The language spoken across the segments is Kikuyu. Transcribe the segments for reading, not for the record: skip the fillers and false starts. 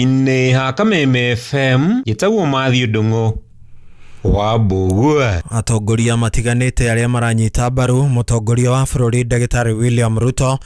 Inĩ ha Kameme FM gĩtagwo Matthew Ndung'u wa Mbugua. Atongoria matiganĩte arĩa maranyita mbaru mũtongoria wa bũrũri Ndagĩtarĩ William Ruto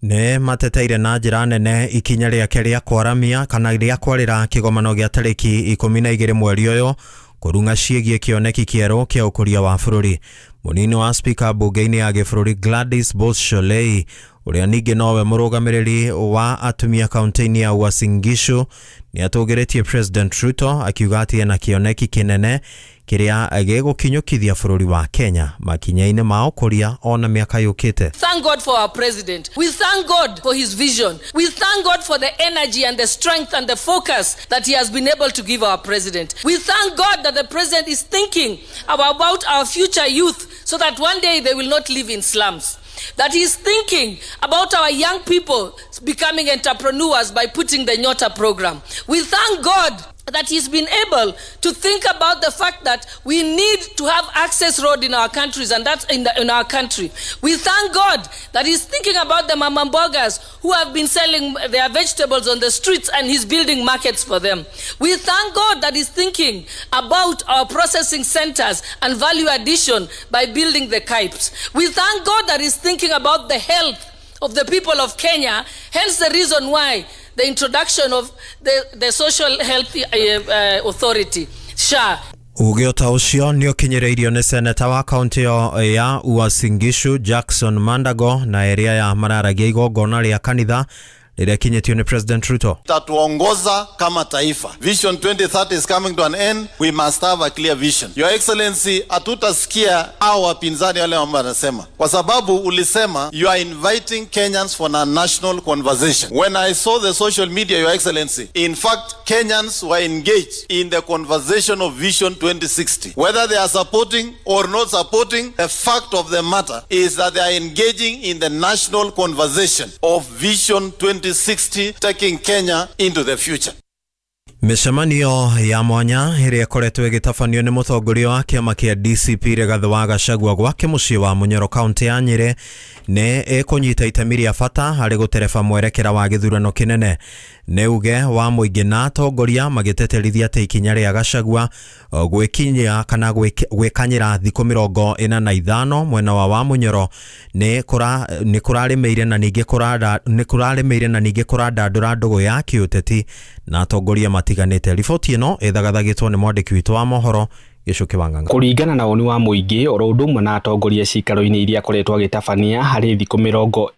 nĩ mateteire na njĩra nene ikinya rĩake rĩa kwaramia kana rĩa kwarĩra kĩgomano gĩa tarĩki 12 mweri ũyũ kũrung'a ciĩgiĩ kĩoneki kĩerũ kĩa ũkũria wa bũrũri. Mũnini wa spika mbunge-inĩ ya gĩbũrũri Gladys Bolsholei ũrĩa ningĩ nowe mũrũgamĩrĩri wa atumia kaunti-inĩ ya Uasin Gishu nĩ atũgĩrĩtie President Ruto akiuga atĩ ena kĩoneki kĩnene kĩrĩa gĩgũkinyũkithia bũrũri wa Kenya makinya-inĩ ma ũkũria ona mĩaka yũkĩte. Thank God for our president. We thank God for his vision. We thank God for the energy and the strength and the focus that he has been able to give our president. We thank God that the president is thinking about our future youth so that one day they will not live in slums. That he is thinking about our young people becoming entrepreneurs by putting the Nyota program. We thank God that he's been able to think about the fact that we need to have access road in our countries, and that's in our country. We thank God that he's thinking about the mamambogas who have been selling their vegetables on the streets, and he's building markets for them. We thank God that he's thinking about our processing centers and value addition by building the KIPES. We thank God that he's thinking about the health of the people of Kenya, hence the reason why the introduction of the Social Health Authority, SHA. Uge ota ũcio nĩ ũkinyĩrĩirio nĩ seneta wa kaunti ya Uasin Gishu Jackson Mandago na ĩrĩa ya mararagia igongona rĩa kanitha rĩrĩa kinyĩtio nĩ President Ruto. Tatuongoza kama taifa. Vision 2030 is coming to an end. We must have a clear vision. Your Excellency, hatutasikia hao wapinzani wale ambao wanasema, kwa sababu ulisema you are inviting Kenyans for a national conversation. When I saw the social media, Your Excellency, in fact Kenyans were engaged in the conversation of Vision 2060. Whether they are supporting or not supporting, the fact of the matter is that they are engaging in the national conversation of Vision 2060, taking Kenya into the future. Mĩcemanio ya mwanya ĩrĩa ĩkoretwo ĩgĩtabanio nĩ mũtongoria wa kĩama kĩa DCP Rigathĩ wa Gachagua gwake mũciĩ wa Munyoro kaunti ya Nyĩrĩ nĩ ĩkũnyita itemi rĩa bata harĩ gũtereba mwerekera wa gĩthurano kĩnene. Nĩ uge wa mũingĩ na atongoria magĩteterithia atĩ ikinya rĩa Gachagua gwĩkinyia kana gwĩkanyĩra thikũ 45 mwena wa Wamunyoro nĩ kũrarĩmĩire na ningĩ kũrandandũra ndũgũ ya kĩũteti na atongoria matiganĩte. Riboti ĩno ĩthagathagĩtwo nĩ mwandĩki witũ wa mohoro Gĩcũkĩ wa Ng'ang'a. Kũringana na woni wa mũingĩ oro ũndũ ũmwe na atongoria cikaro-inĩ iria akoretwo agĩtabania harĩ thikũ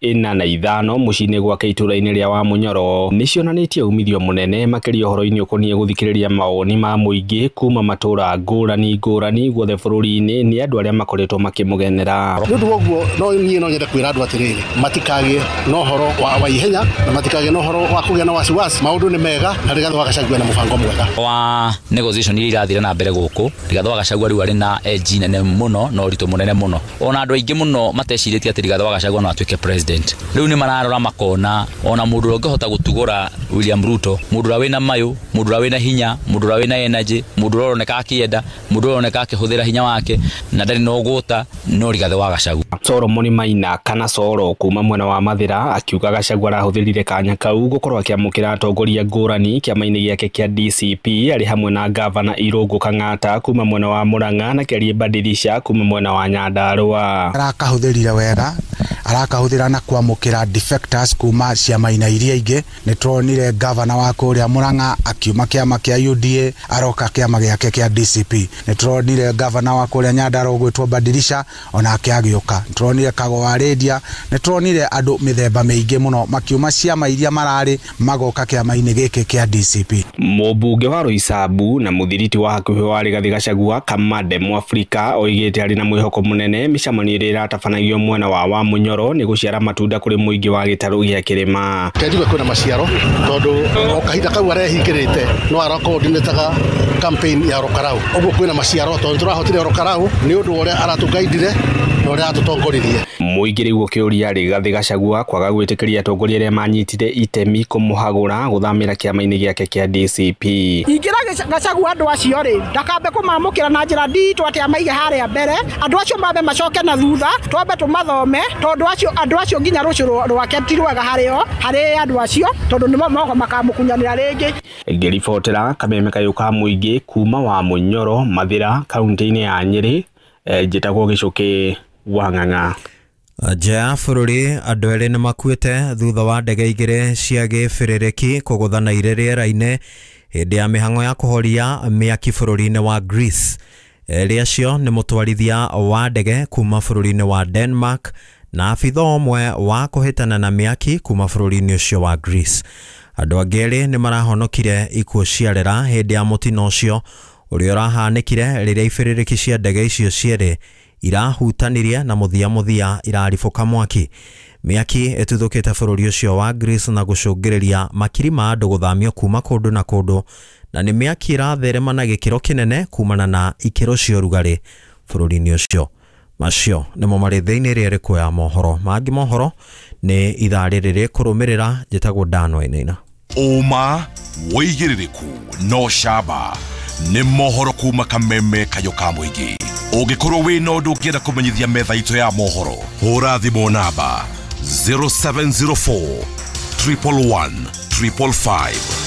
45 mũciĩ-inĩ gwake itũũra-inĩ rĩa Wamunyoro nĩ cionanĩtie umithio mũnene makĩria ũhoro-inĩ ũkoniĩ gũthikĩrĩria mawoni ma mũingĩ kuma matũũra ngũrani ngũrani guothe bũrũri-inĩ nĩ andũ arĩa makoretwo makĩmũgenera. Nĩ ũndũ woguo no niĩ no nyende kwĩra andũ atĩrĩrĩ, matikagĩe na ũhoro wa ihenya na matikagĩe na ũhoro wa kũgĩa na wasiwasi. Maũndũ nĩ mega na Rigathĩ wa Gachagua na mũbango mwega wa negotiation iria irathire na mbere gũkũ. Rigathĩ wa Gachagua rĩu arĩ na edge nene mũno na ũritũ mũnene mũno. Ona andũ aingĩ mũno matecirĩtie atĩ Rigathĩ wa Gachagua no atuĩke president. Rĩu nĩ mararora makona ona mũndũ ũrĩa ũngĩhota gũtugũra William Ruto, mũndũ ũrĩa wĩna mayũ, mũndũ ũrĩa wĩna hinya, mũndũ ũrĩa wĩna energy, mũndũ ũrĩa ũroneka akĩenda, mũndũ ũrĩa ũroneka akĩhũthĩra hinya wake na ndarĩ na ũgũta, no Rigathĩ wa Gachagua. Solomon Maina kana Soro kuma mwena wa Mathĩra akiuga Gachagua arahũthĩrire kanya kau gũkorwo akĩamũkĩra atongoria ngũrani kĩama-inĩ gĩake kĩa DCP arĩ hamwe na gavana Irũngũ Kang'ata kuma mwena wa Murang'a na Kĩariĩ Badilisha kuma mwena wa Nyandarua. Arakahũthĩrire wega, arakahũthĩra na kwamũkĩra defectors kuma ciama-inĩ iria ingĩ. Nĩ turonire gavana wa kũrĩa Murang'a akiuma kĩama kĩa UDA aroka kĩama gĩake kĩa DCP. Nĩ turonire gavana wa kũrĩa Nyandarua ũgwĩtwo Badilisha onake agĩũka. Nĩ turonire Kago wa Rĩndia, nĩ turonire andũ mĩthemba mĩingĩ mũno makiuma ciama iria mararĩ magoka kĩama-inĩ gĩkĩ kĩa DCP. Mũmbunge wa Roysambu na mũthiriti wa hakuhĩ wa Rigathĩ Gachagua Kamande Mwafrika oigĩte arĩ na mwĩhoko mũnene mĩcemanio ĩrĩa ĩratabanagio mwena wa Wamunyoro nĩ gũciara matunda kũrĩ mũingĩ wa gĩtarũ gĩa kĩrĩma. Kenjigue kwĩna maciaro tondũ o kahinda kau arehingĩrĩte no arakoordinataga campaign ya Orokarau, ũguo kwĩna maciaro tondũ tũrahotire Orokarau nĩ ũndũ wa ũrĩa aratũgaidire na ũrĩa aratũtongoririe. Mũingĩ rĩu ũkĩũria Rigathĩ Gachagua kwaga gwĩtĩkĩria atongoria arĩa manyitire itemi kũmũhagũra gũthamĩra kĩama-inĩ gĩake kĩa DCP. Ingĩra Gachagua andũ acio rĩ, ndakambe kũmamũkĩra na njĩra nditũ atĩ amaige harĩa mbere, andũ acio mambe macoke na thutha, twambe tũmathome, tondũ acio andũ acio nginya rũciũ rwake ti rwega harĩo, harĩ andũ acio, tondũ nĩmo moko makamũkunyanĩra rĩngĩ. Ngĩribotera kameme kayũ ka mũingĩ kuma wa Munyoro Mathira kaunti-inĩ ya Nyĩrĩ, njĩtagwo Gĩcũkĩ wa Ng'ang'a. Nja ya bũrũri andũ erĩ nĩ makuĩte thutha wa ndege igĩrĩ cia gĩbĩrĩrĩki kũgũthana irĩ rĩera-inĩ hĩndĩ ya mĩhang'o ya kũhoria mĩaki bũrũri-inĩ wa Greece. Erĩ acio nĩ mũtwarithia wa ndege kuma bũrũri-inĩ wa Denmark na abitha ũmwe wa kũhĩtana na mĩaki kuma bũrũri-inĩ ũcio wa Greece. Andũ angĩ erĩ nĩ marahonokire ikuũ ciarera hĩndĩ ya mũtino ũcio ũrĩa ũrahanĩkire rĩrĩa ibĩrĩrĩki cia ndege icio cierĩ irahutanirie na mũthia mũthia iraribũka mwaki. Mĩaki ĩtuthũkĩte bũrũri ũcio wa Greece na gũcũngĩrĩria makiri ma andũ gũthamio kuma kũndũ na kũndũ, na nĩ mĩaki ĩratherema na gĩkĩro kĩnene kumana na ikĩro cia ũrugarĩ bũrũri-inĩ ũcio. Macio nĩmo marĩ thĩinĩ rĩrĩa rĩkuoya mohoro mangĩ. Mohoro nĩ ithaa rĩrĩ rĩkũrũmĩrĩra. Njĩtagwo Dan Wainaina. Ũma wĩigĩrĩrĩku no camba nĩ mohoro kuma kameme kayũ ka mũingĩ. Ũngĩkorwo wĩna ũndũ ũngĩenda kũmenyithia metha itũ ya mohoro, hũra thimũ namba 0704 111 555.